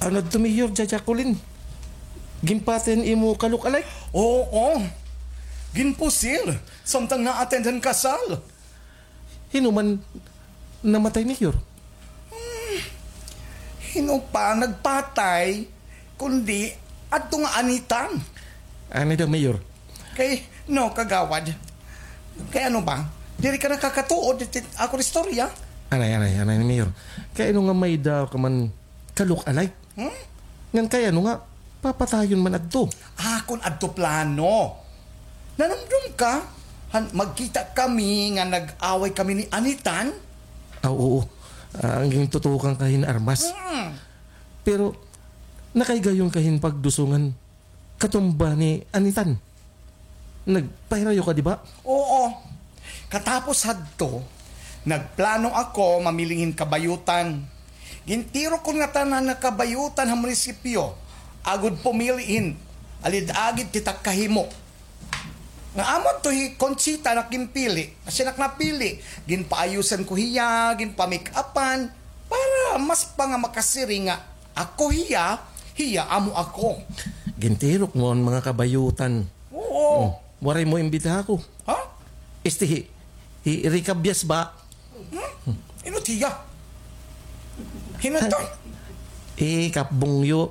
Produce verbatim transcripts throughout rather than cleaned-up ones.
Ano adto, Mayor, Jajakulin? Ginpatay an imo ka-look-alike? Oo. Ginpusil samtang na-attend han kasal. Hin-o man namatay, Mayor? Hmm, hin-o pa nagpatay kundi adto nga Anitan. Anay daw, Mayor. Kay, no, Kagawad. Kay ano ba? Diri ka nakakatuod hit akon istorya? Anay, anay, anay, Mayor. Kay ano nga may-ada ka man ka-look-alike? Hmm? Ngan kay ano nga papatayon man adto? Ah, kon adto plano. Nanumdom ka? Han, magkita kami nga nag-away kami ni Anitan? Ah, oo. Ah, an gintutukan ka hin armas. Hmm. Pero, nakahigayon ka hin pagduso ngan katumba ni Anitan. Nagpahirayo ka, di ba? Oo. Katapos hadto, nagplano ako mamiling hin kabayutan. Gintirok ko ngatanan nga kabayutan ha munisipyo, agod pumili hin alid-agid kita kahimo. Nga amo adto hi Conchita an ak ginpili, asya an ak napili. Ginpaayusan ko hiya, ginpa-make-upan, para mas pa nga makasiring nga ako hiya, hiya amo ako. Gintirok mo an mga kabayutan. Oo. Hmm. Waray mo imbitaha ako. Ha? Este hi, hi Rica Bias ba? Hmm? Hin-o hiya? Hin-o adto? Hi Kap Bungyo.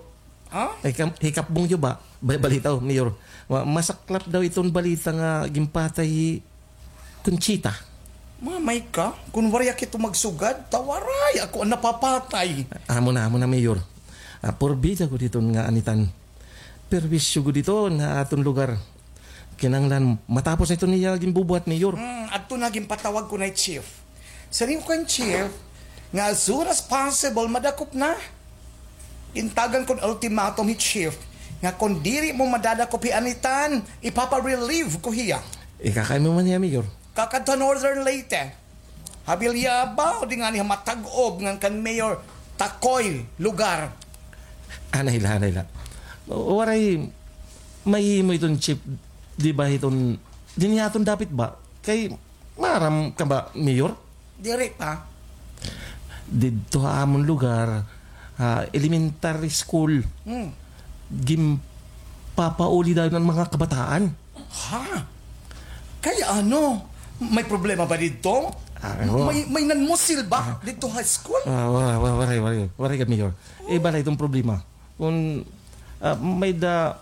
Ha? Hi Kap, hi Kap Bungyo ba? Ba-, balita, o, Mayor. Wa-, masaklap daw iton balita nga ginpatay hi Conchita. Mamay ka, kon waray ak hito magsugad, ta waray ako an napapatay. Amo na, amo na, Mayor. Ah, porbida gud iton nga Anitan. Perwisyo gud iton ha aton lugar. Kinahanglan matapos na iton iya ginbubuhat, Mayor. Hmm, adto na ginpatawag ko na hi Chief. Siring ko kan Chief nga as soon as possible madakop na. Gintagan ko hin ultimatum hi Chief nga kon diri mo madadakop hi Anitan, ipapa-relieve ko hiya. Ikakay mo man hiya, Mayor? Kakadto ha Northern Leyte. Ha Villabao, o di ngani ha Matag-ob ngan kan Mayor Tacoy lugar. Anay la, anay la. Waray mahimo iton, Chief, di ba, iton dinhi ha aton dapit ba? Kay maaram ka ba, Mayor? Diri pa. Didto ha amon lugar, ha elementary school, hmm, ginpapauli dayon an mga kabataan. Ha? Kay ano? May problema ba didto? Ah, oo. May, may nanmusil ba didto ha school? Ah, wa-, wa-, waray, waray, waray gad, Mayor. Iba la iton problema. Kon, ah, may-ada,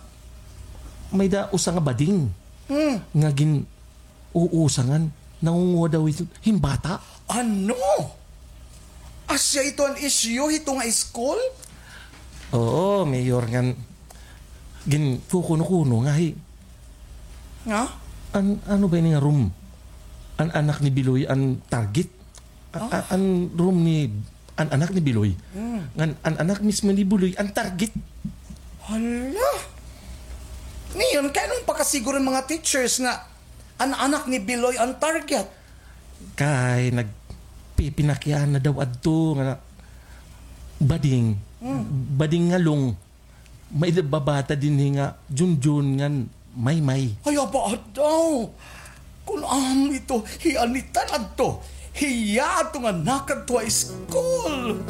may-ada usa nga bading, hmm, nga gin-uusa ngan nangunguha daw hin bata. Ano? Asya ito an isyu hito nga school? Oo, Mayor, ngan ginkukuno-kuno nga hi. Nga? An, ano ba ini nga room? An anak ni Biloy an target? A-, a-, an room ni, an anak ni Biloy. Hmm. Ngan an anak mismo ni Biloy an target. Hala! Ngayon, kay ano pakasiguro an mga teachers nga an anak ni Biloy an target? Kay nagpipinakiana daw adto nga bading. Hmm. Bading nga long. May-ada babata dinhi nga Junjun ngan Maymay. Ay, aba daw. Kon amo ito, hi Anitan adto. Hiya adto nga nakadto ha school.